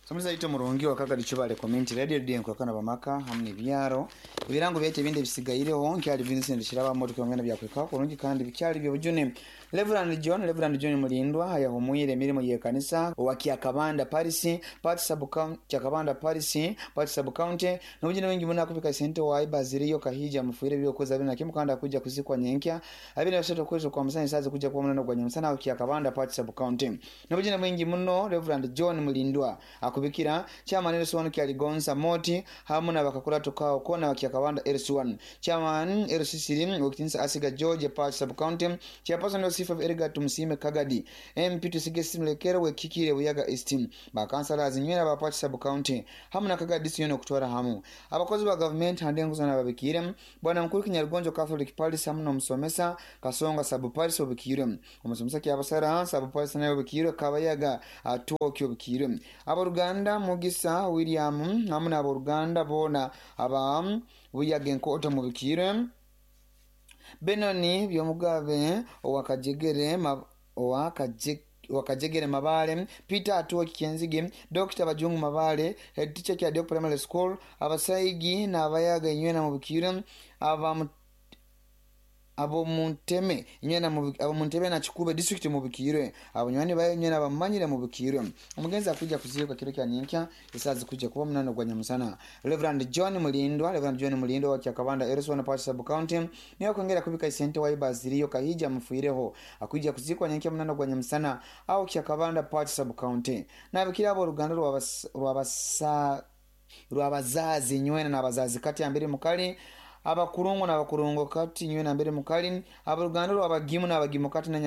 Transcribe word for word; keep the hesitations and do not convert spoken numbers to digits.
Somuzaito murungi wakagadi chubale community radio D nkwakana bamaka hamu n'ebyaro ebirango byaitu ebindi ebisigaireho nkyali Vincent Kiraba motoka yongena byakweka kurungi kandi bikyali byobujune. Reverend John Reverend John Mulindwa ayahumwire emirimu y'ekanisa owa Kyakabanda Parish Pati sub county Kyakabanda Parish Pati sub county n'obujune bwingi muno akubika sente wa Baziriyo Kahija mufuire byokoza bina kimu kandi akuja kuzikwa nyenkya abiri na kwezi kwa musana sazi kuja kwa munano gwa nyamusana wa Kyakabanda Pati sub county n'obujune bwingi muno Reverend John Mulindwa akubikira chairman L C one Kyaligonza Moti hamu na bakakula tukao kona wa Kyakabanda L C one chairman L C three Wakitinsa Asiga George Pati sub county chairperson L C five Edgar Tumusime Kagadi M P Tusige Simlekero wekikire Buyaga East bakansala zinywera ba Pati sub county hamu na Kagadi siyono kutwara hamu abakozi ba government hande nguzo na babikire bwana mukuru Kinyarugonjo Catholic Parish hamu n'omusomesa Kasonga sub parish obikire omusomesa Kyabasara sub parish nayo obikire Kabayaga atuokyo obikire aboruganda Mugisa William hamu n'aboruganda bona aba Buyaga Enkoto mubikire Benoni Byomugabe owakajegere owakajegere wakajegere Mabale Peter Atuwa Kikenzige Doctor Bajungu Mabale head teacher kya Dok Primary School abasaigi n'abayaga inywena mubikire aba abo munteme inywena abo muntebe na Kikube district mubikire abanywanyi bayo inywena bamanyire mubikire omugenzi akuja kuziika kiro kya nyenkya isazi kuja kuba munano gwa nyamusana. Reverend John Mulindwa Reverend John Mulindwa wa Kyakabanda L C one Pati sub county niyo kwongera kubika isente wa Baziriyo Kahija mufuireho akuja kuzikwa nyenkya munano gwa nyamusana au Kyakabanda Pati sub county nabikira abo ruganda rwabasa rwabazazi inywena n'abazazi kati ambere mukali abakurungu n'abakurungu kati nywena mbere mukali abaruganda rwabagimu n'abagimu kati na